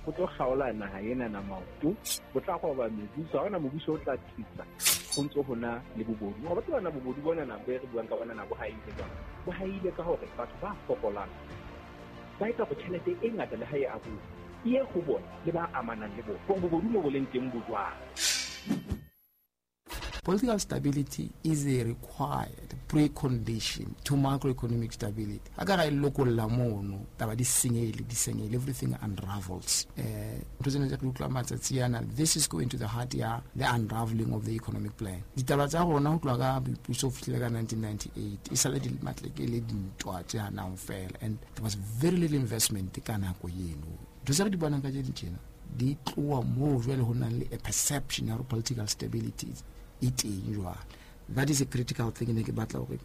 Bo tlo kgaola naha enana maoto, bo tla roba mebuso. Ha hona mobuso o tla tsitsa ho ntso hona le bobodu. Wa tseba na bobodu bonana bo re buang ka bona na bo haile jwang? Bo haile ka hore batho ba fokolang ba etsa hore tjhelete e ngata le ha e abuwa e ye ho bona le ba amanang le bona. Hore bobodu mo bo leng teng bo jwang. Political stability is a required precondition to macroeconomic stability. A ka ga e lokolla mono, taba di senyehile, di senyehile, everything unravels. Ntho tsena tse re utlwa matsatsi ana, this is going to the heart ya the unraveling of the economic plan. Ditaba tsa rona ho tloha ka boipuso ho fihlela ka 1998, e sale di matleke le dintwa tse hanang fela, and there was very little investment ka nako eno. Ntho tse re di bonang ka tse tjena di tloha moo jwale ho nang le a perception ya hore political stability e teng jwale. That is a critical thing ne ke batla hore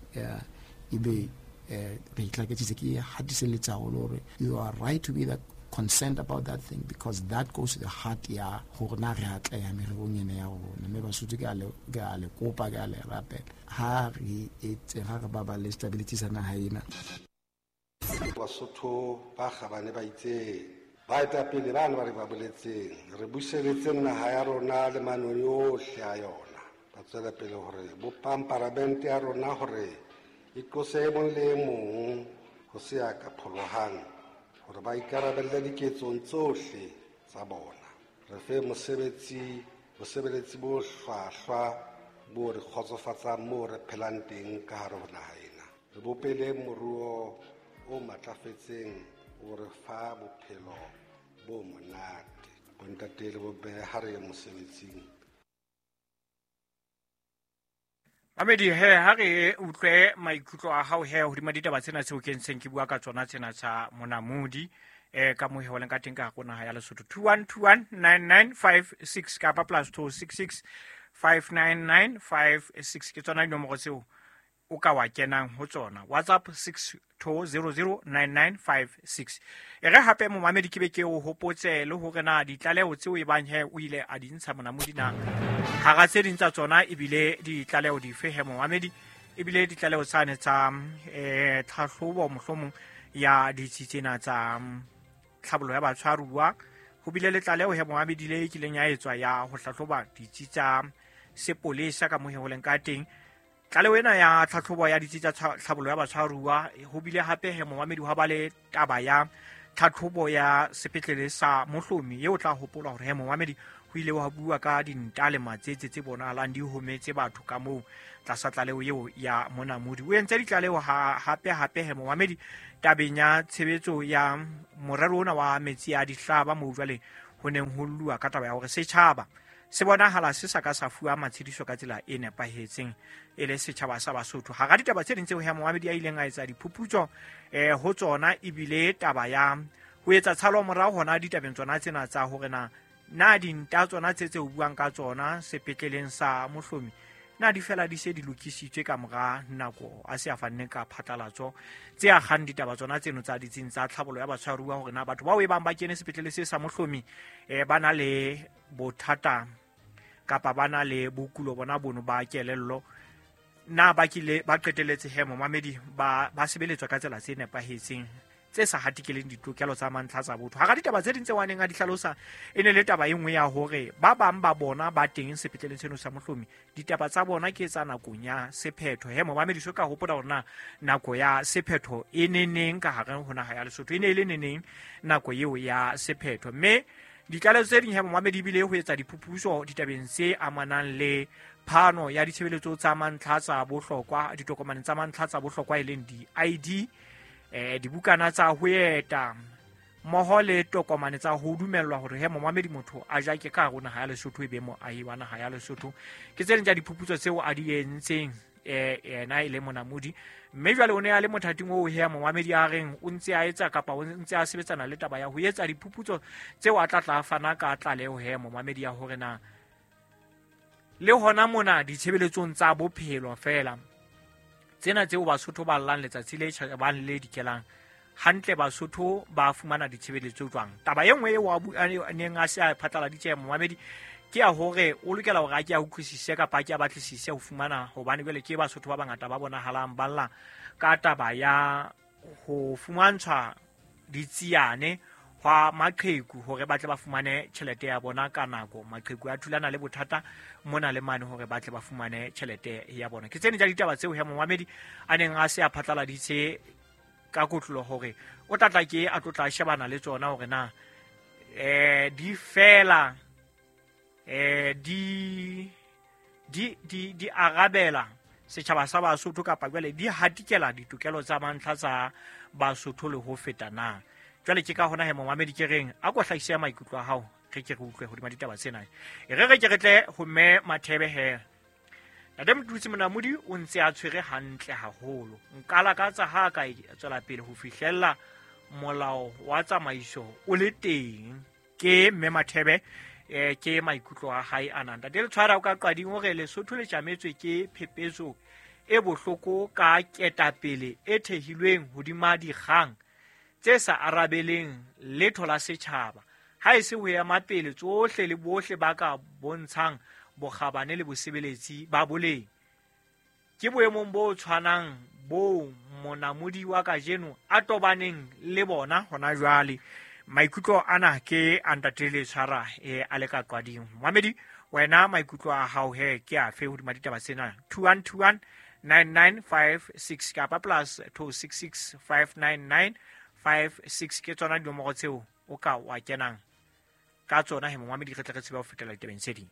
ebe re itlaketsitse, ke hatiselletsa haholo hore you are right to be that concerned about that thing, because that goes to the heart ya hore na re atleha mererong ena ya rona. Mme Basotho ke a le, ke a le kopa, ke a le rapela, ha re etse, ha re baballe stability sa naha ena. Basotho ba kgabane ba itseng, baetapele bana ba re ba boletseng, re buseletse naha ya rona le manoni ohle a yona. Ba tswela pele hore bopang paramente ya rona hore e qose e mong le e mong ho se ya ka pholohang, hore ba ikarabelle diketsong tsohle tsa bona. Re fe bosebeletsi bo hlwahlwa bo re kgotsofatsang moo re phelang teng ka hare ho naha ena. Re bopele moruo o matlafetseng o re fa bophelo bo monate. Bontate le bomme, ha re ye mosebetsing. Mamedi, he, ha re utlwe maikutlo a hao he hodima ditaba tsena tseo ke ntseng ke bua ka tsona tsena tsa Monamodi, ka moo he ho leng ka teng ka hare ho naha ya Lesotho. 21219956 kapa plus 266 59956 ke tsona dinomoro tseo o ka wa kenang ho tsona. WhatsApp 62009956. E re hape momamedi ke be ke o hopotse le hore na ditlaleho tseo e bang he o ile a di ntsha Monamodi na hara tse ding tsa tsona ebile ditlaleho dife he momamedi, ebile ditlaleho tsane tsa tlhahlobo mohlomong ya ditsi tsena tsa tlhabollo ya batshwaruwa. Ho bile le tlaleho he momamedi le e kileng ya etswa ya ho hlahloba ditsi tsa sepolesa ka moo he ho leng ka teng. Tlaleho ena ya tlhatlhobo ya ditsi tsa tlhabollo ya batshwaruwa, ho bile hape he momamedi hwa ba le taba ya tlhatlhobo ya sepetlele sa Mohlomi eo tla hopola hore he momamedi ho ile wa bua ka dinta le matsetse tse bonahalang di hometse batho ka moo tlasa tlaleho eo ya Monamodi. O entse ditlaleho hape hape he momamedi tabeng ya tshebetso ya morero ona wa metsi a dihlaba moo jwale ho neng ho lluwa ka taba ya hore setjhaba se bonahala se sa ka sa fuwa matshediso ka tsela e nepahetseng e le setjhaba sa Basotho. Hara ditaba tse ding tseo he momamedi a ileng a etsa diphuputso ho tsona ebile taba ya ho etsa tshalo morao hona ditabeng tsona tsena tsa hore na na dinta tsona tse tse o buang ka tsona sepetleleng sa Mohlomi na di fela di se di lokisitswe ka mora nako a se a fanne ka phatlalatso tse akgang ditaba tsona tseno tsa ditsing tsa tlhabollo ya batshwaruwa hore na batho bao e bang ba kene sepetlele se sa Mohlomi ba na le bothata kapa ba na le bokulo bona bono ba kelello na ba kile ba qetelletse he momamedi ba sebeletswa ka tsela tse nepahetseng tse sa hatikeleng ditokelo tsa mantlha tsa botho. Hara ditaba tse ding tse waneng a di hlalosa e ne le taba e nngwe ya hore ba bang ba bona ba teng sepetleleng seno sa Mohlomi ditaba tsa bona ke tsa nakong ya sephetho. He momamedi so ka hopola hore na nako ya sephetho e ne neng ka hare ho naha ya Lesotho, e ne e le neneng nako eo ya sephetho. Mme ditlaleho tse ding he momamedi ebile ho etsa diphuputso ditabeng tse amanang le phano ya ditshebeletso tsa mantlha tsa bohlokwa, ditokomane tsa mantlha tsa bohlokwa e leng di-ID, dibukana tsa ho eta mmoho le tokomane tsa ho dumellwa hore he momamedi motho a jake ka hare ho naha ya Lesotho e be moahi wa naha ya Lesotho. Ke tse ding tsa diphuputso tseo a di entseng yena e le Monamodi. Mme jwale o ne a le mothating oo he momamedi a reng o ntse a etsa kapa o ntse a sebetsana le taba ya ho etsa diphuputso tseo a tla tla fana ka tlaleho he momamedi ya hore na le hona mona ditshebeletsong tsa bophelo feela tsena tseo Basotho ba llang letsatsi le tjhabang le dikelang hantle, Basotho ba fumana ditshebeletso jwang. Taba e nngwe eo a neng a se a phatlaladitse momamedi ke ya hore o lokela hore a ke a utlwisise kapa a ke a batlisise ho fumana, hobane jwale ke Basotho ba bangata ba bonahalang ba lla ka taba ya ho fumantshwa ditsiane hwa maqheku hore ba tle ba fumane tjhelete ya bona ka nako. Maqheku a thulana le bothata mona le mane hore ba tle ba fumane tjhelete ya bona. Ke tsene tsa ditaba tseo he momamedi a neng a se a phatlaladitse ka kotlolo hore o tla tla ke a tlotla shebana le tsona hore na di fela di arabela setjhaba sa Basotho kapa jwale di hatikela ditokelo tsa mantlha tsa Basotho le ho feta na. Jwale ke ka hona he momamedi ke reng a ko hlahise maikutlo a hao re ke re utlwe hodima ditaba tsena. E re ke re tle ho mme Mathebe he. Ntate Mothusi Monamodi o ntse a tshwere hantle haholo. Nka lakatsa ha ka tswela pele ho fihlella molao wa tsamaiso o le teng. Ke mme Mathebe ke maikutlo a hae ana. Ntate Letshwara o ka qading hore Lesotho le tjametswe ke phepetso e bohloko ka ketapele e thehilweng hodima dikgang tse sa arabeleng letho la setjhaba. Ha e se ho ema pele tsohle le bohle ba ka bontshang bokgabane le bosebeletsi ba boleng. Ke boemong bo tshwanang bo Monamodi wa kajeno a tobaneng le bona hona jwale. Maikutlo ana ke a Ntate Letshwara a le ka qading. Mamedi wena maikutlo a hao he ke afe hodima ditaba tsena? 2121 9956 kapa plus 266 599 56 ke tsona dinomoro tseo o ka wa kenang ka tsona he momamedi re tle re tsebe ho fetela ditabeng tse ding.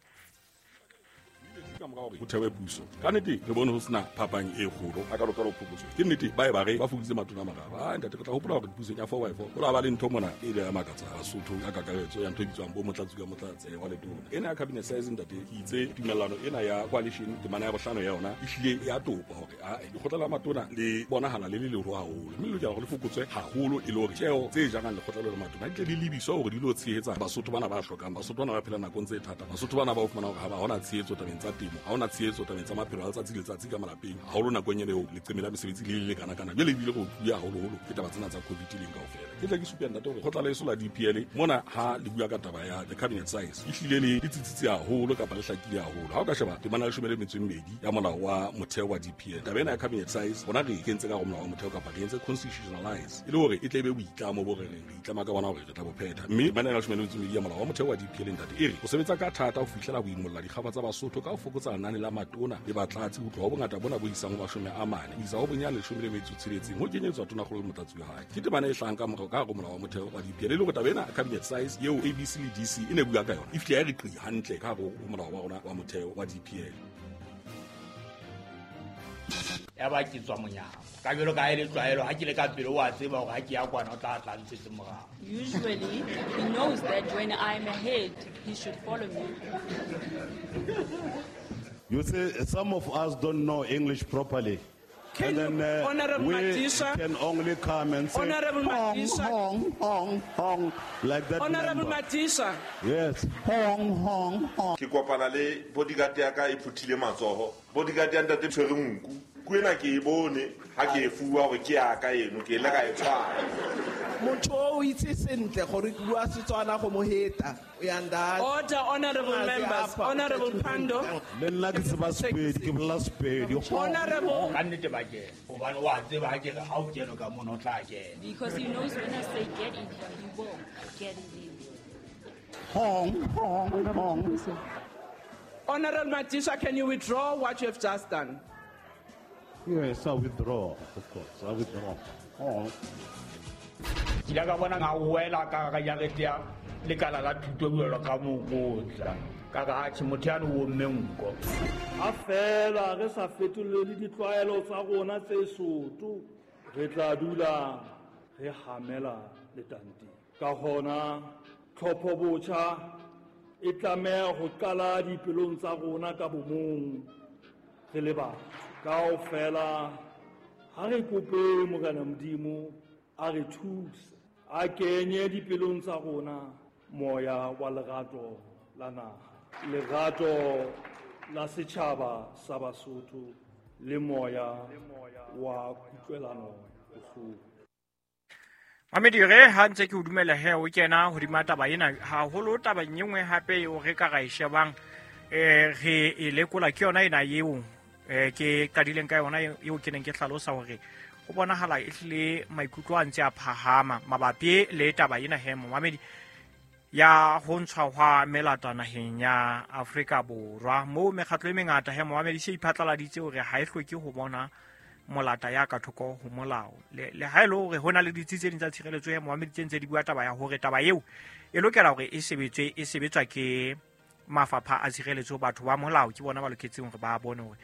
Ka mora hore ho thewe puso ka nnete re bone ho sena phapang e kgolo a ka lokela ho phokotswa. Ke nnete ba e ba re ba fokoditse matona a mararo. A ntate re tla hopola hore pusong ya 4x4 ho la ba le ntho mona e ile ya makatsa Basotho ka kakaretso ya ntho e bitswang bo motlatsi ka motlatse wa letona. Ena ya cabinet size ntate ke itse tumellano ena ya coalition temana ya bohlano ya yona e hlile ya topa hore a lekgotla la matona le bonahala le le leholo haholo mme le lokela hore le fokotswe haholo e le hore tjeo tse jarang lekgotla le matona di tle di lebiswa hore di lo tshehetsa Basotho bana ba hlokang, Basotho bana ba phelang nakong tse thata, Basotho bana ba o fumana hore ha ba hona tshehetso tabeng tsa temo, ha hona tshehetso tabeng tsa maphelo a letsatsi le letsatsi ka malapeng haholo nakong ena eo leqeme la mesebetsi le le kana-kana. Jwale ebile re otluwe haholoholo ke taba tsena tsa COVID leng kaofela. Ke tla ke supe ntate hore kgotla leso la DPL mona ha le bua ka taba ya the cabinet size e hlile le tsitsitse haholo kapa le hlakile haholo. Ha o ka sheba temana ya 12 ya molao wa motheo wa DPL, taba ena ya cabinet size rona re kentse ka molao wa motheo kapa re entse constitutionalize e le hore e tle be boitlamo bo re reng re itlama ka bona hore re tla bo phetha. Mme temana ya 12 ya molao wa motheo wa DPL ntate e re o sebetsa ka thata ho fihlela ho imolla dikgaba tsa Basotho ka ho fokotsa lenane la matona le batlatsi ho tloha ho bongata bona bo isang ho 40 ho isa ho bonyane 16 ho kenyetswa tonakgolo le motlatsi wa hae. Ke temana e hlahang ka morao ka hare ho molao wa motheo wa DPL e le hore taba ena cabinet size eo ABC le DC e ne bua ka yona e fihle ya re qi hantle ka hare ho molao wa rona wa motheo wa DPL. Ya ba ke tswa monyako ka jwalo ka e le tlwaelo ha ke le ka pele wa tseba hore ha ke ya kwana o tla tla ntsetse morao. Usually he knows that when I'm ahead he should follow me. You see, some of us don't know English properly. Can and then Honorable we Matisha, can only come and say Honorable hong, Matisha, hong, hong, hong, like that. Honorable member. Matisha. Yes. Hong, hong, hong. Ke kopana le bodyguard ya ka e phuthile matsoho. Bodyguard ya ntate tshwere nku. Ku ena ke e bone ha ke e fuwa hore ke ya ka eno ke ile ka e tshwara. Motho o itse sentle gore ke bua Setswana go mo heta. Order, honorable members. Honorable Pando. Le nna ke tseba Sepedi, ke bolela Sepedi. Honorable. Ka nnete ba kena hobane wa tseba ha ke re ha o kene ka mona o tla kena. Because he knows when I say get in here, he will get in. Hong, hong, hong. Honorable Matisha, can you withdraw what you have just done? Yes, I withdraw, of course. I withdraw. Hong. Ke ile ka bona nga wela ka ga jarete ya lekala la thuto jwalo ka mokotla ka ga atjhe motho yane o omme nko. Ha fela re sa fetolele ditlwaelo tsa rona tse soto, re tla dula re hamela letanteng. Ka hona tlhopho botjha e tlameha ho qala dipelong tsa rona ka bomong re le batho. Kaofela ha re kope Morena Modimo a re thuse, a kenye dipelong tsa rona moya wa lerato la naha, lerato la setjhaba sa Basotho le moya wa kutlwelano bohloko. Mamedi re ha ntse ke o dumela he o kena hodima taba ena haholo. Taba e nngwe hape eo re ka ra e shebang re e lekola ke yona ena eo ke qadileng ka yona eo ke neng ke hlalosa hore Ho bonahala ehlile maikutlo a ntse a phahama mabapi le taba ena he momamedi ya ho ntshwa hwa melata naheng ya Afrika Borwa. Moo mekgatlo e mengata he momamedi se iphatlaladitse hore ha e hloke ho bona molata ya ka thoko ho molao. Le ha e le hore ho na le ditsi tse ding tsa tshireletso ya momamedi tse ntse di bua taba ya hore taba eo e lokela hore e sebetswe e sebetswa ke mafapha a tshireletso, batho ba molao ke bona ba loketseng hore ba bone hore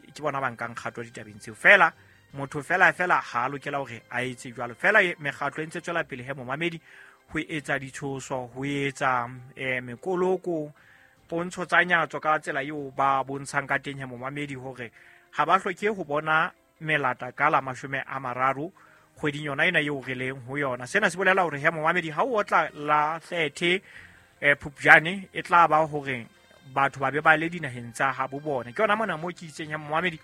ke bona ba nkang kgato ditabeng tseo. Fela motho fela fela ha lokela hore a etse jwalo. Fela mekgatlo e ntse tswela pele he momamedi ho etsa ditshoso, ho etsa mekoloko, pontsho tsa nyatso ka tsela eo ba bontshang ka teng he momamedi hore ha ba hloke ho bona melata ka la 30 kgweding yona ena eo re leng ho yona. Sena se bolela hore he momamedi ha o otla la 30 Phupjane e tla ba hore batho ba be ba le dinaheng tsa habo bona. Ke yona mona mo ke itseng he momamedi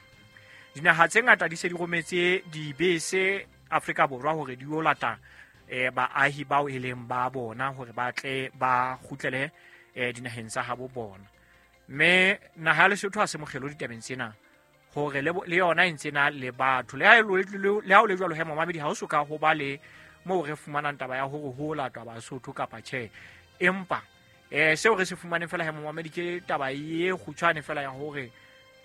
dinaha tse ngata di se di rometse dibese Afrika Borwa hore di yo lata baahi bao e leng ba bona hore ba tle ba kgutlele dinaheng tsa habo bona. Mme naha ya Lesotho ha se mokgelo ditabeng tsena hore le yona e ntse na le batho. Le ha o le jwalo he momamedi ha o soka ho ba le moo re fumanang taba ya hore ho latwa Basotho kapa tjhe. Empa seo re se fumaneng fela he momamedi ke taba e kgutshwane fela ya hore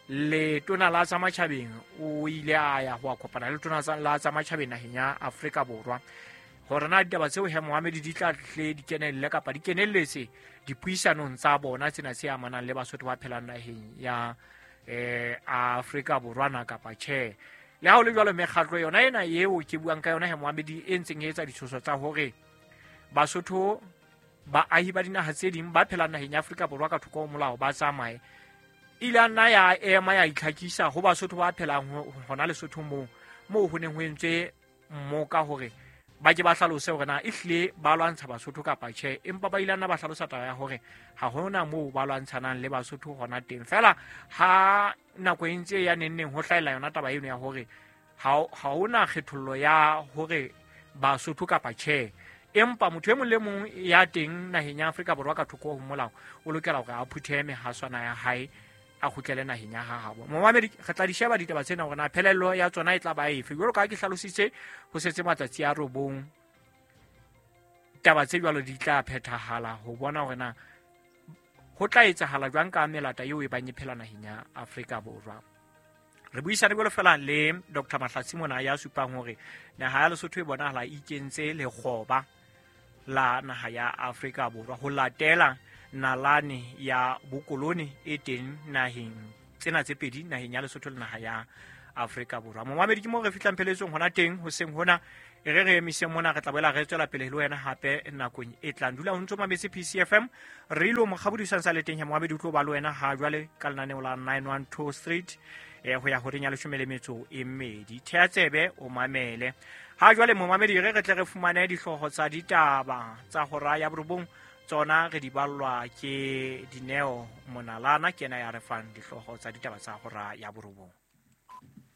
letona la tsa matjhabeng o ile a ya ho a kopana le letona la tsa matjhabeng naheng ya Afrika Borwa hore na ditaba tseo he momamedi di tla tle di kenelle kapa di kenelletse dipuisanong tsa bona tsena tse amanang le Basotho ba phelang naheng ya Afrika Borwa na kapa tjhe. Le ha ho le jwalo mekgatlo yona ena eo ke buang ka yona he momamedi e ntseng e etsa ditshoso tsa hore Basotho baahi ba dinaha tse ding ba phelang naheng ya Afrika Borwa ka thoko ho molao ba tsamaye, ile a nna ya ema ya itlhakisa ho Basotho ba phelang hona Lesotho moo ho neng ho entswe mmoka hore ba ke ba hlalose hore na ehlile ba lwantsha Basotho kapa tjhe. Empa ba ile nna ba hlalosa taba ya hore ha hona moo ba lwantshanang le Basotho hona teng. Fela ha nako e ntse ya neng neng ho hlahella yona taba eno ya hore ha hona kgethollo ya hore Basotho kapa tjhe, empa motho e mong le mong ya teng naheng ya Afrika Borwa ka thoko ho molao o lokela hore a phuthehe mehaswana ya hae a kgutlele naheng ya habo. Momamedi re tla di sheba ditaba tsena hore na phelello ya tsona e tla ba efe. Jwalo ka ha ke hlalositse ho setse matsatsi a 9 taba tse jwalo di tla phethahala ho bona hore na ho tla etsahala jwang ka melata eo e bang e phela naheng ya Afrika Borwa. Re buisane jwalo fela le Dr. Mahlatsi mona ya supang hore naha ya Lesotho e bonahala e ikentse lekgoba la naha ya Afrika Borwa ho latela nalane ya bokolone e teng naheng tsena tse pedi, naheng ya Lesotho le naha ya Afrika Borwa. Momamedi ke moo re fihlang pheletsong hona teng hoseng hona. E re re emise mona, re tla boela re tswela pele le wena hape nakong e tlang. Dula o ntso mametse PCFM. Re ilo mokgabodisang sa le teng he momamedi o tlo ba le wena ha jwale ka lenaneo la 912 Street ho ya horeng ya 12. Thea tsebe o mamele. Ha jwale momamedi re tle re fumane dihlooho tsa ditaba tsa hora ya 9 tsona re di ballwa ke Dineo Monalana, ke yena ya re fang dihlooho tsa ditaba tsa hora ya 9.